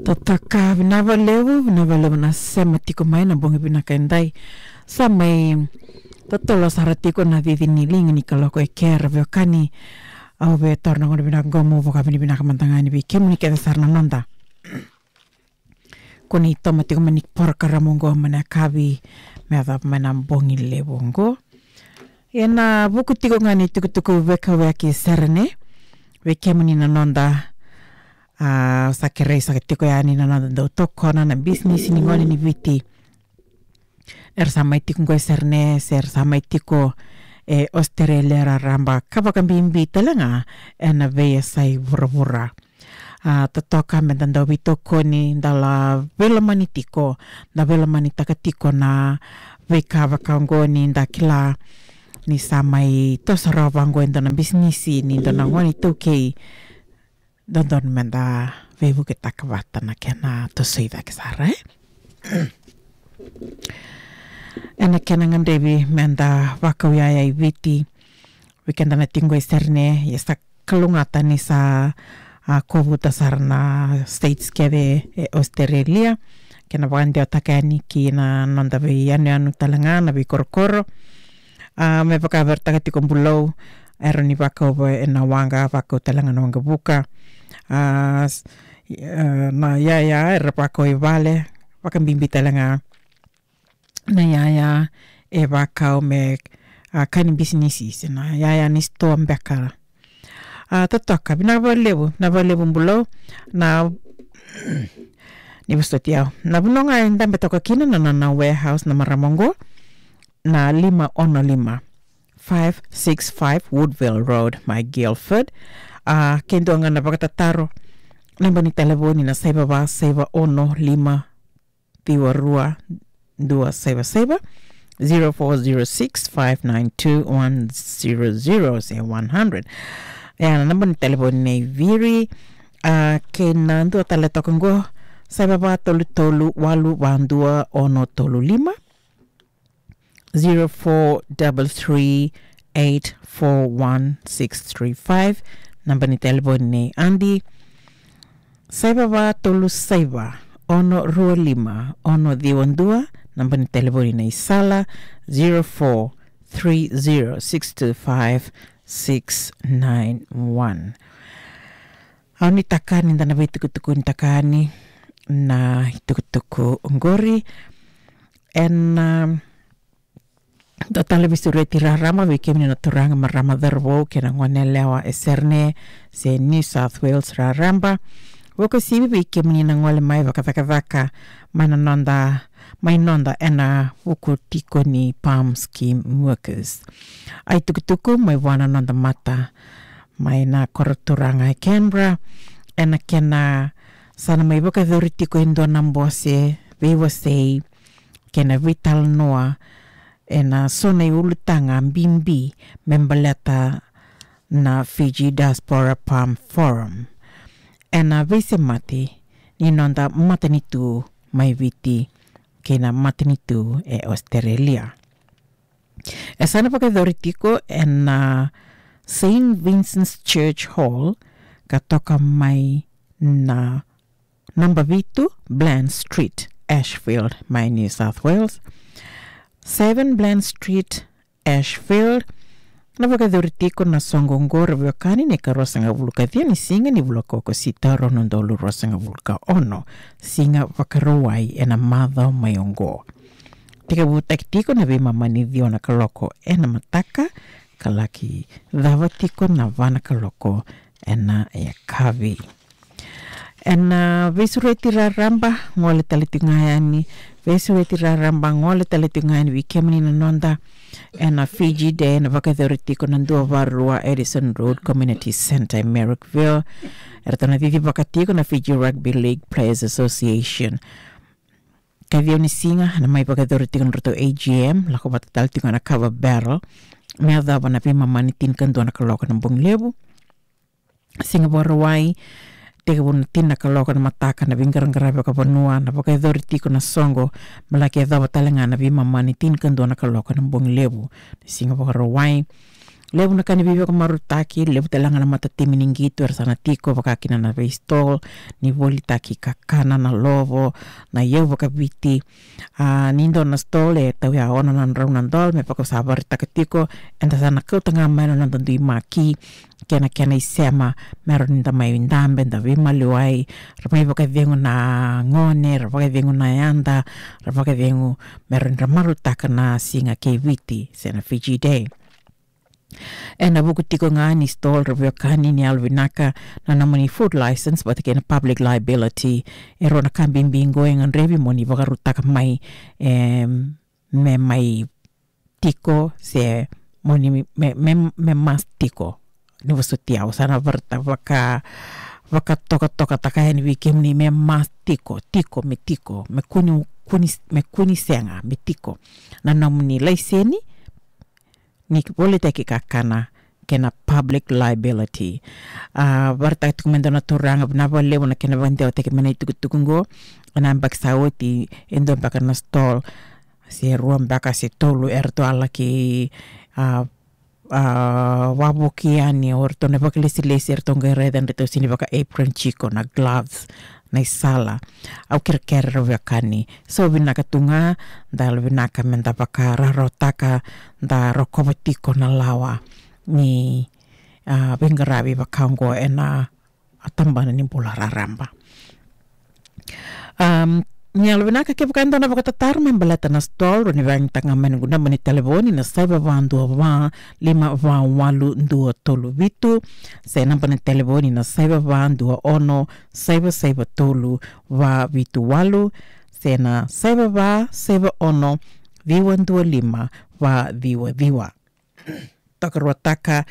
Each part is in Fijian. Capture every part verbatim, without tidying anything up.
Totoka, vinaka vakalevu, vinaka vakalevu na sema tiko mai na bogi vinaka edai. Sa mai totolo sara tiko na cici ni liga ni kaloko e kea, ra veiwekani. Au via taura na gauna vinaka qo meu vakavinavinaka mada ga yani vei kemuni kece sara na noda ko ni toma tiko mai ni porokaramu qo mai na yakavi me yacova mai na bogi levu qo. Ena vuku tiko ga ni tukutuku veikauwaitaki Serene vei kemuni na noda, a, sa kerei saka tiko yani na noda dau tokona na bisinisi ni gone ni Viti era sa mai tiko qo e Serene se ra sa mai tiko e Ositerelia raraba, ka vakabibi tale ga ena veiyasai vuravura. A, totoka meda dau veitokoni, da la veilomani tiko, da veilomanitaka tiko na veika vaka oqo ni da kila ni sa mai toso rawa vaqo e dua na bisinisi ni dua na gone iTaukei. Dodonu meda veivuketaka vata na kena tosoi cake sara, e? Ena kena gadrevi meda vakau iyaya i Viti, vei keda na tiko qo e Serene, ia sa kalougata ni sa, a, kovuta sara na states kece e Ositerelia. Kena vakadewataka yani ki na noda veiyanuyanu tale ga na veikorokoro. A, me vakaveretaka tiko Bulou, era ni vakau ena waqa, vakau tale ga na waqavuka. A, s-, e, na iyaya era vakau i vale, vakabibi tale ga na iyaya e vakau me, a, ka ni bisinisi, se na iyaya ni sitoa beka. A, totoka, vinaka vakalevu, vinaka vakalevu Bulou. Na, ni vosoti au. Na vanua ga e dabe toka kina na, na, na warehouse na marama qo, na lima ono lima, five six five Woodville Road, mai Guildford. A, ke dua ga na vakatataro, naba ni talevoni na saiva va saiva ono lima ciwa rua dua saiva saiva, zero four zero six five nine two one zero zero se one hundred. E, na naba ni talevoni nei Viri. A, kei na dua tale toka qo, saiva va tolu tolu walu va dua ono tolu lima, zero four double three eight four one six three five. Naba ni talevoni nei Adi, saiva va tolu saiva ono rua lima ono ciwa dua. Naba ni talevoni nei Sala, zero four three zero six two five six nine one. Au nuitaka ni da na veitukutukunitaka yani na itukutuku oqori. Ena, um, dua tale veisureti raraba vei kemuni na turaga, marama, cauravou kei na goneyalewa e Serene se New South Wales raraba. Vakauasivi vei kemuni na gole mai vakacakacaka mai na noda, mai noda ena vuku tiko ni PALM scheme workers. A, itukutuku mai vua na noda mata mai na koro turaga e Canberra, ena kena sa na mai vakayacori tiko e dua na bose veiwasei kei na veitalanoa ena so na iulutaga bibi me baleta na Fiji Diaspora PALM Forum, ena veisemati ni noda matanitu mai Viti kei na matanitu e Australia. E sa na vakayacori tiko ena Saint Vincent's Church Hall, ka toka mai na naba vitu Bland Street, Ashfield, mai New South Wales. Seven Bland Street, Ashfield. Na vakayacori tiko na soqo oqo, ra veiwekani, na ikaruasagavulu ka ciwa ni siga ni vula ko Okosita, rua na udolu ruasagavulu ka ono, Siga Vakarauwai, ena macawa mai oqo. Tekivutaki tiko na veimama ni ciwa na kaloko ena mataka, ka laki cava tiko na va na kaloko ena yakavi. Ena veisureti raraba, gole tale tiko ga yani, veisureti raraba, gole tale tiko ga yani vei kemuni na noda, ena Fiji Day, ena vakayacori tiko na dua va rua Addison Road Community Centre e Marrickville. Eratou na cicivaka tiko na Fiji Rugby League Players Association. Ka ciwa ni siga, ena mai vakayacori tiko na nodratou A G M, lako vata tale tiko na kava barrel, me yacova na veimama ni tinikadua na kaloko ena bogi levu. Siga Vakarauwai, tekivu na tini na kaloko ena mataka, na veiqaraqaravi vakavanua, na vakayacori tiko na soqo, me laki yacova tale ga na veimama ni tinikadua na kaloko ena bogi levu. Siga Vakarauwai, Levu na ka ni veivakamarautaki, levu tale ga na matatimi ni qito era sa na tiko, vaka kina na vei stall ni volitaki kakana, na lovo, na iyau vakaviti. A, ni dua na stall e tauya ono na drau na dola, me vaka au sa vakaraitaka tiko, eda sa na kauta ga mai na noda dui maki, kei na kena isema, me rawa ni da mai dabe, da veimaliwai, ra mai vakacegu na gone, ra vakacegu na yada, ra vakacegu, me rawa ni ra marautaka na siga kei Viti, se na Fiji Day. Ena vuku tiko ga ni stall, ra veiwekani, ni yalovinaka, na nomuni food license vata kei na public liability. E rua na ka bibi qo e gadrevi mo ni vakarautaka mai, em, me mai tiko, se mo ni me, me, me must tiko. Ni vosoti au, sa na varata vaka, vakatokatokataka yani vei kemuni, me must tiko, tiko, me tiko, me kua ni, kua ni, me kua ni sega, me tiko. Na nomuni laiseni ni volitaki kakana kei na public liability. A, vakaraitaka tiko mai e dua na turaga, vinaka vakalevu na kena vakadewataki mai na itukutuku qo. Ena yabaki sa oti, e dua beka na stall, se rua beka se tolu, eratou a laki, a, a, wavoki yani o ratou na vakalesilesi, eratou qai raica ni ratou sega ni vaka apron tiko, na gloves, na isala. Au kerekere, ra veiwekani. So vinaka tu ga, da yalovinaka me da vakararawataka, da rokova tiko na lawa ni, a, veiqaravi vaka oqo ena tabana ni bula raraba. Am, ni yalovinaka, kevaka e dua na vakatataro me baleta na stall, rawa ni vakayagataka ga mai na noqu naba ni talevoni na saiva va dua va lima va walu dua tolu vitu, se naba ni talevoni na saiva va dua ono saiva saiva tolu va vitu walu, se na saiva va saiva ono ciwa dua lima va ciwa ciwa. Tokaruataka,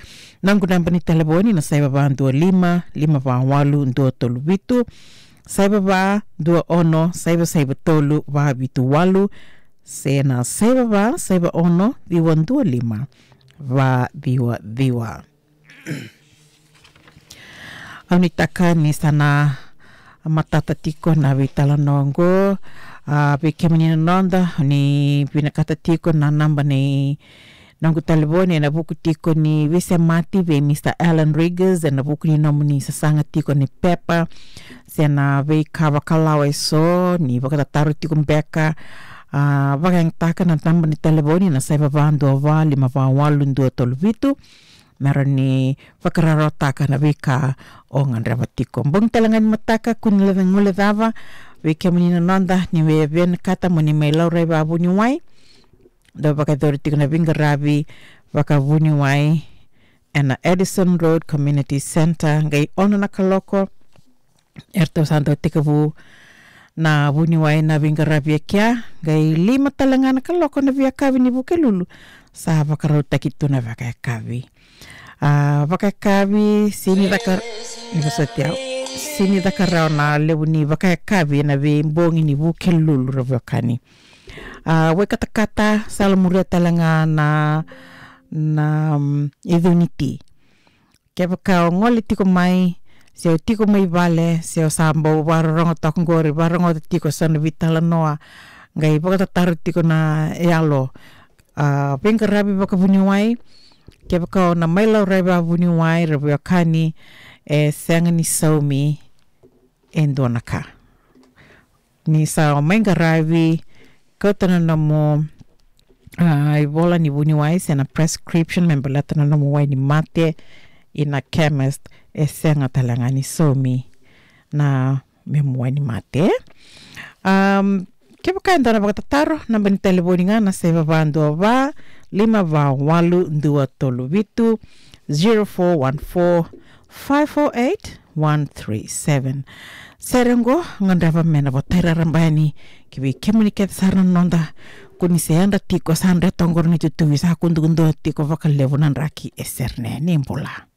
noqu naba ni talevoni na saiva va dua lima lima va walu dua tolu vitu, saiva va dua ono saiva saiva tolu va vitu walu, se na saiva va saiva ono ciwa dua lima va ciwa ciwa. Au nuitaka ni sa na matata tiko na veitalanoa oqo. A, vei kemuni na noda, ni vinakata tiko na naba ni noqu talevoni, ena vuku tiko ni veisemati vei Mister Alan Riggers, ena vuku ni nomuni sasaga tiko ni pepa, se na veika vakalawa eso, ni vakatataro tiko beka, a, vakayagataka na naba ni talevoni na saiva va dua va lima va walu dua tolu vitu, me rawa ni vakararawataka na veika o gadreva tiko. Bogi tale ga ni mataka, kua ni guilecava, vei kemuni na noda, ni via vinakata mo ni mai laurai vakavuniwai, dau vakayacori tiko na veiqaravi vakavuniwai ena Addison Road Community Centre, qai ono na kaloko, eratou sa dau tekivu na vuniwai, na veiqaravi e kea, qai lima tale ga na kaloko na veiyakavi ni Vukelulu, sa vakarautaki tu na vakayakavi. A, vakayakavi, sega ni caka, ni vosoti au, sega ni caka rawa na levu ni vakayakavi ena veibogi ni Vukelulu, ra veiwekani. A, wai katakata, sala muria tale ga na, na, mm, icuniti. Kevaka o gole tiko mai, se o tiko mai vale, se o sa bau vakarorogo toka qori, vakarorogo tiko eso na veitalanoa, qai vakatataro tiko na yalo, a, veiqaravi vakavuniwai, kevaka o na mai laurai vakavuniwai, ra veiwekani, e sega ni saumi e dua na ka. Ni sa mai qaravi, kauta na nomu, a, ivola ni vuniwai se na prescription me baleta na nomu wai ni mate ina chemist, e sega tale ga ni saumi na memu wai ni mate. Am, kevaka e dua na vakatataro, naba ni talevoni ga na saiva va dua va lima va walu dua tolu vitu, zero four one four, five four eight, one three seven. Sere oqo, gadreva me na votai raraba yani ki vei kemuni kece sara na noda, ko ni se yadra tiko, sa dreta oqori na itutuvi, sa kudukudua tiko vakalevu na draki e sere ne. Ni bula.